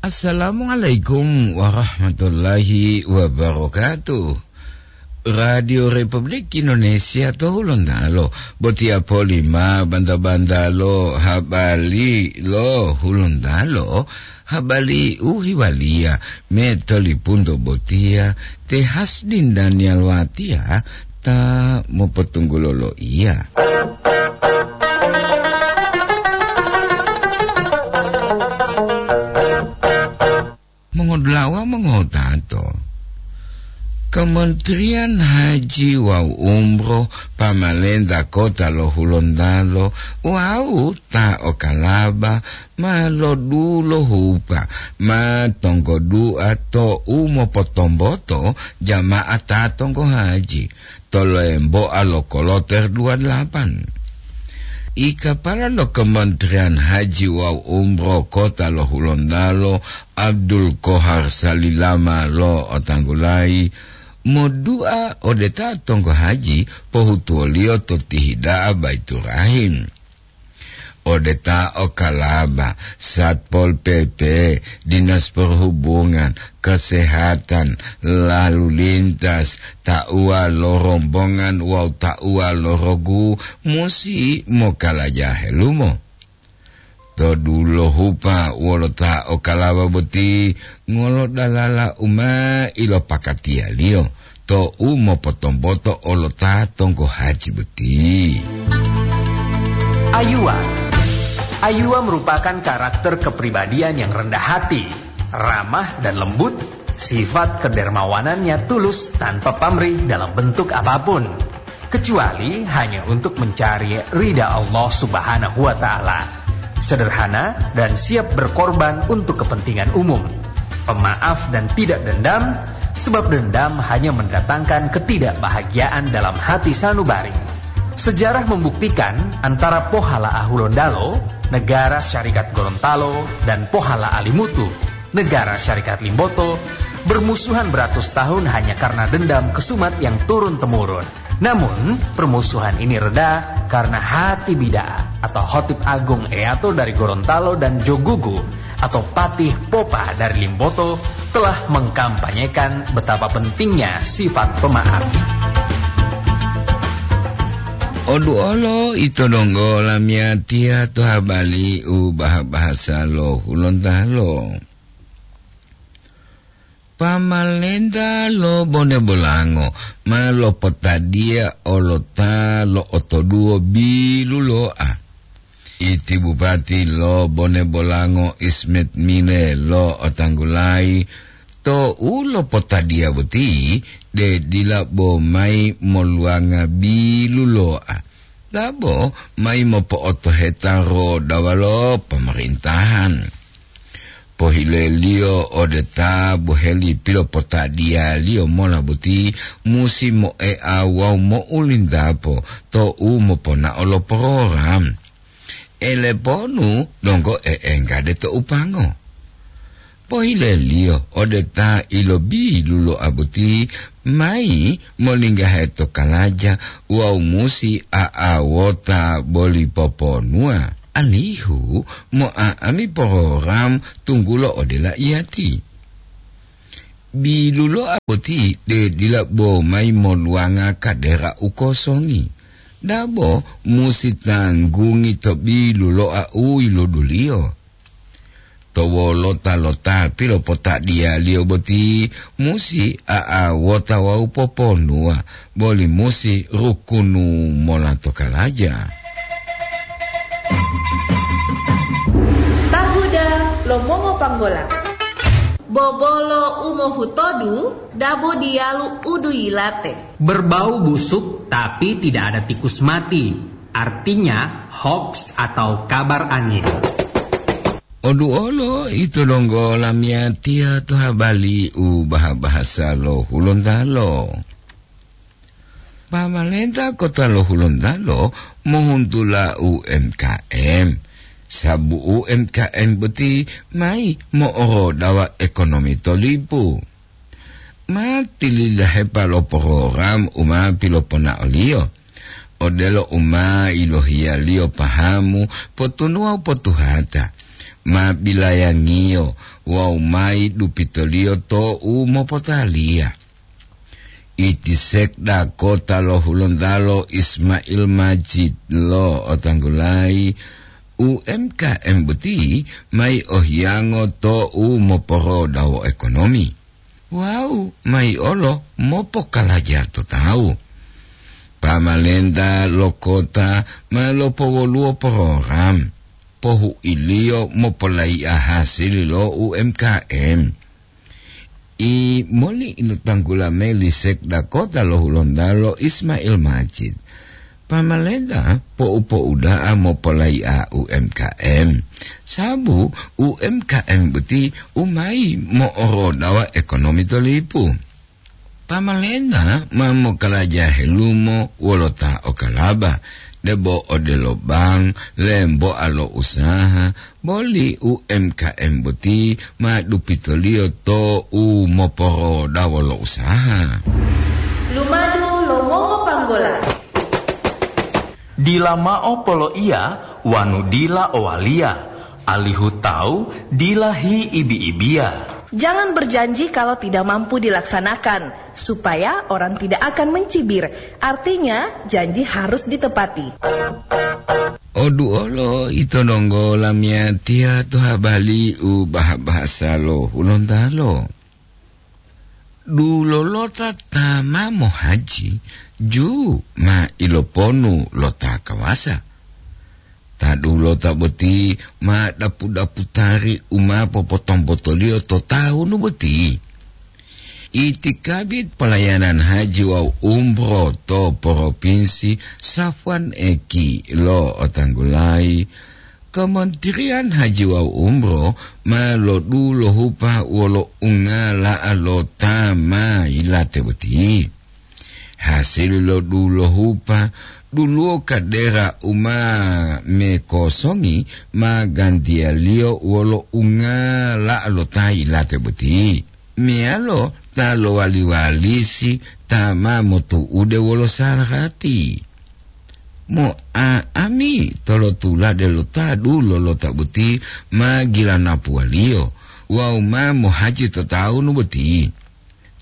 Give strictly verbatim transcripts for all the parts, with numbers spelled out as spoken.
Assalamualaikum warahmatullahi wabarakatuh. Radio Republik Indonesia to Hulontalo, botiya poli ma banta-banta lo habari lo Hulontalo, habari u hiwaliya me tolipunto botiya te Hasdin Daniel Watiya ta mopotunggulo lo iya. Mongodulawa mongotato, Kementerian Haji wawu Umroh pamalenta kota lo Hulontalo wawu ta okalaba ma lodulohupa ma tonggodu'a to u mopotomboto jama'a ta tonggo haji to lemboa lo koloter dua delapan. Ikapala lo Kementerian Haji wawu Umroh kota lo Hulontalo, Abdul Kohar Salilama lo otanggulayi, modu'a ode ta tonggo haji pohutuwoliyo to tihida'a Baiturahim. Ode ta okalaba, Satpol P P, Dinas Perhubungan, Kesehatan, Lalu Lintas, tauwa lo rombongan wawu tauwa lo rogu musi mokalaja helumo. To dulohupa wolo ta okalaba boti ngolodalala u ma ilopakatiyaliyo to u mopotomboto olo ta tonggo haji boti. Ayuwa. Ayuwa merupakan karakter kepribadian yang rendah hati, ramah dan lembut. Sifat kedermawanannya tulus tanpa pamrih dalam bentuk apapun, kecuali hanya untuk mencari ridha Allah Subhanahu wa Ta'ala. Sederhana dan siap berkorban untuk kepentingan umum. Pemaaf dan tidak dendam, sebab dendam hanya mendatangkan ketidakbahagiaan dalam hati sanubari. Sejarah membuktikan antara Pohala Ahulondalo, negara Syarikat Gorontalo, dan Pohala Alimutu, negara Syarikat Limboto, bermusuhan beratus tahun hanya karena dendam kesumat yang turun-temurun. Namun, permusuhan ini reda karena hati bida'ah atau Khotib Agung Eyato dari Gorontalo dan Jogugu atau Patih Popa dari Limboto telah mengkampanyekan betapa pentingnya sifat pemaaf. Oduolo ito donggo lamiyatiya to habari u baha-bahasa lo Hulontalo. Pamalenta lo Bone Bolango ma lopotadiya olota lo otoduwo bilulo'a. Iti Bupati lo Bone Bolango Ismet Mile lo otanggulayi to u lopotadiya boti de dila bo mayi moluwanga bilulo'a, dabo mayi mopo'otoheta rodawa lo pemerintahan. Pohileliyo ode ta boheli pilopotadiyaliyo mola boti musi moea wawu mo'ulintapo to u moponao lo program. Eleponu donggo e'enggade to upango. Pohileliyo ode ta ilobilulo'a boti mayi molinggahe to kalaja wawu musi a'awota boli poponuwa, alihu mo'a'ami program tunggulo ode laiyati. Bilulo'a boti de dila bo mayi moluwanga kadera u kosongi, dabo musi tanggungi to bilulo'a u yiluduliyo. To wolota lo ta pilopotadiyaliyo boti musi a'awota wawu poponuwa, boli musi rukunu mola to kalaja. Tahuda lo mongopanggola. Bobolo u mohutodu dabo diyalu u duyilate. Berbau busuk tapi tidak ada tikus mati, artinya hoaks atau kabar angin. Oduolo ito donggo lamiyatiya to habari u baha-bahasa lo Hulontalo. Pamalenta kota lo Hulontalo mohuntula U M K M, sabu U M K M boti mayi mo'orodawa ekonomi to lipu. Ma tilidahepa lo program u ma piloponaoliyo, odelo u ma yilohiyaliyo pahamu potunuwa u potuhata, ma bilayangiyo wawu mayi dupitoliyo to'u mopotaliya. Iti sekda kota lo Hulontalo Ismail Majid lo'otanggulayi, U M K M boti mayi ohiyango to'u moporodawo ekonomi wawu mayi olo mopokalaja to tawu. Pamalenta lo kota ma lopowoluwo program pohu'iliyo mopolaiya hasili lo U M K M. I moli ilo tanggula meli sekda kota lo Hulontalo Ismail Majid. Pamalenta po'u-po'uda'a mopolaiya U M K M, sabu U M K M boti u mayi mo'orodawa ekonomi to lipu. Pamalenta ma mokalaja helumo wolo ta okalaba, debo odelo bank, lemboa lo usaha, boli U M K M boti ma dupitoliyo to'u moporodawo lo usaha. Lumadu lo mongopanggola. Dila mao poloiya wanu dila owaliya, alihu tawu dila hiibi-ibiya. Jangan berjanji kalau tidak mampu dilaksanakan, supaya orang tidak akan mencibir. Artinya, janji harus ditepati. Oduolo ito donggo lamiyatiya to habali u baha-bahasa lo Hulontalo. Dulolota ta ma mohaji, ju ma iloponu lo ta kawasa. Ta dulota boti ma dapu-daputari u ma popotombotoliyo to tawunu boti. Itikabit palayanan haji wawu umroh to Propinsi Safwan Eki lo'otanggulayi, Kementerian Haji wawu Umroh ma lodulohupa wolo ungala'a lo ta ma yilate boti. Hasili lo dulohupa, duluwo kadera u ma mekosongi ma gantiyaliyo wolo ungala'a lo ta yilate boti, meyalo ta lowali-walisi ta ma motu'ude wolo sarati. Mo'a'ami tolotulade lo ta dulolota boti ma gilanapuwaliyo wawu ma mohaji to tawunu boti.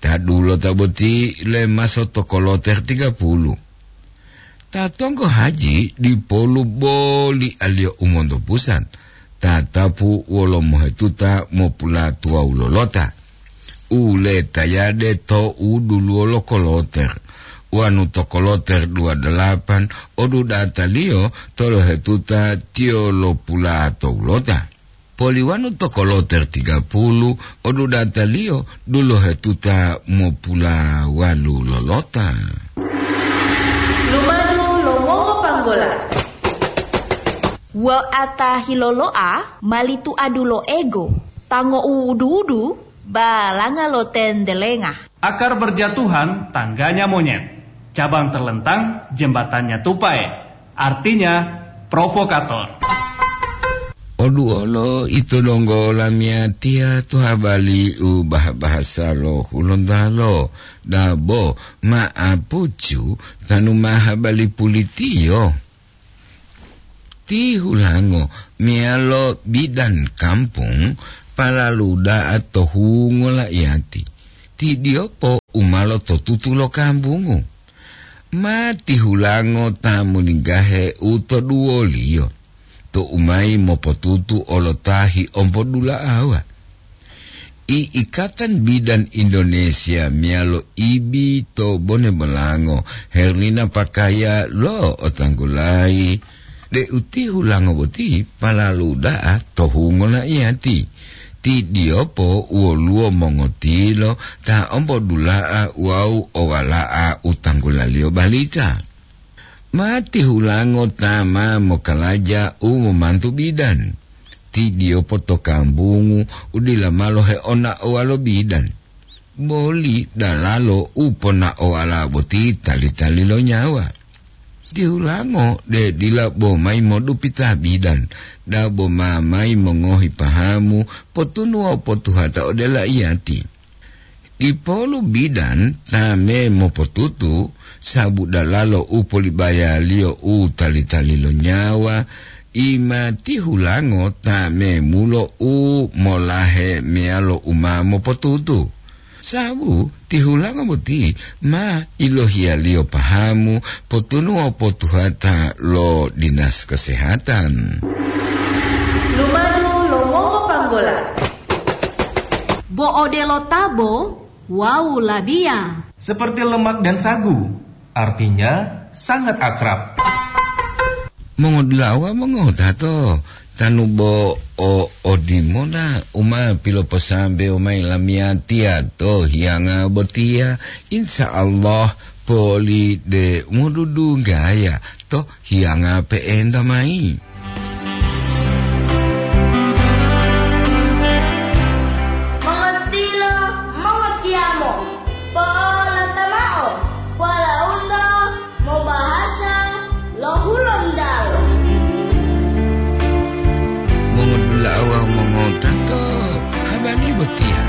Ta dulota boti lemaso to koloter tiga puluh. Ta tonggo haji dipolu boli aliyo u monto pusat, tatapu wolo mohetuta mopulatuwawu lolota. U letayade to u duluwo lo koloter, wanu to koloter dua dalapan odudataliyo tolohetuta tiyo lopulato ulota. Poliwanu to koloter tiga puluh odudataliyo dulohetuta mopulawalu lolota. Lumadu lo mongopanggola. Wa'ata hilolo'a mali tuadu lo ego, tango uwudu-wudu, balanga lo tendelenga. Akar berjatuhan, tangganya monyet. Cabang terlentang, jembatannya tupai. Artinya, provokator. Oduolo ito donggo lamiyatiya to habali u bah-bahasa lo Hulontalo, dabo ma'apucu tanu ma habali pulitiyo. Ti hulango meyalo bidan kampung palalu da'a to hungo la'iyati. Ti diyopo u ma lototutu lo kambungu. Ma ti hulango ta molingga'e u to duwoliyo, to u mayi mopotutu olo ta hi'ompodula'awa. I Ikatan Bidan Indonesia meyalo ibi to Bone Bolango, Herlina Pakaya lo'otanggulayi deu ti hulango boti palalu da'a to hungo la'iyati. Ti diyopo woluwo mongotilo ta ompodula'a wawu owala'a u tanggulaliyo balita. Ma ti hulango ta ma mokalaja u momantu bidan. Ti diyopo to kambungu u dila malo heona'owa lo bidan. Boli dalalo u pona'owala boti tali-tali lo nyawa. Ti hulango de dila bo mayi modupita bidan, dabo ma mayi mongohi pahamu, potunu wawu potuhata ode la'iyati. Dipolu bidan ta me mopotutu, sabu dalalo u polibayaliyo u tali-tali lo nyawa, Imati hulango ta memulo u molahe meyalo u ma mopotutu. Sabu tihulango boti ma ilohiyaliyo pahamu potunuwa potuhata lo Dinas Kesehatan. Lumadu lo mongopanggola. Bo odelo tabo wawu labiya. Seperti lemak dan sagu, artinya sangat akrab. Mongodulawa mongotato, tanu bo o odimona uma piloposambewo mayi lamiyatiya to hiyanga botiya, insya Allah poli de modudunggaya to hiyanga pe'enta mayi. Mongotilo, mongotiyamo, po'olata mao, walaundo mobahasa lo Hulontalo. Mongodula'a wawu mongotato, habari botiya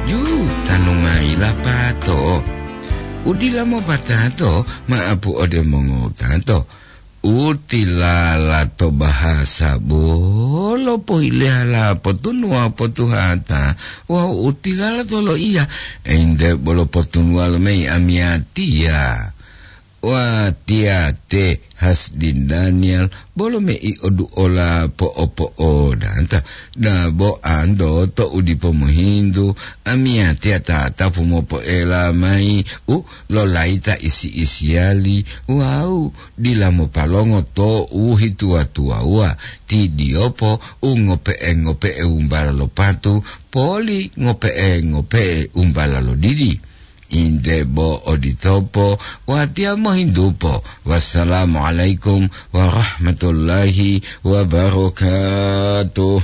jutanu mayi lapato. Udila mopatato ma'apu ode mongotato. Utilala to bahasa bolo pohilehalapo tunuwa potuhata wawu utilala to loiya, ente bolo potunuwa lomeyi amiyatiya. Watiya te Hasdin Daniel bolo mei oduola po'opo'odata, dabo anto to udipo mohintu, amiyatiya tatapu mopoela mayi u lolayita isi-isiyali wawu dila mopalongo to u hituwa-tuwawuwa, ti diyopo u ngope'e-ngope'e wumbala lo patu, poli ngope'e-ngope'e wumbala lo didi. Inde bo oditopo, watiya mohintupo. Wassalamualaikum warahmatullahi wabarakatuh.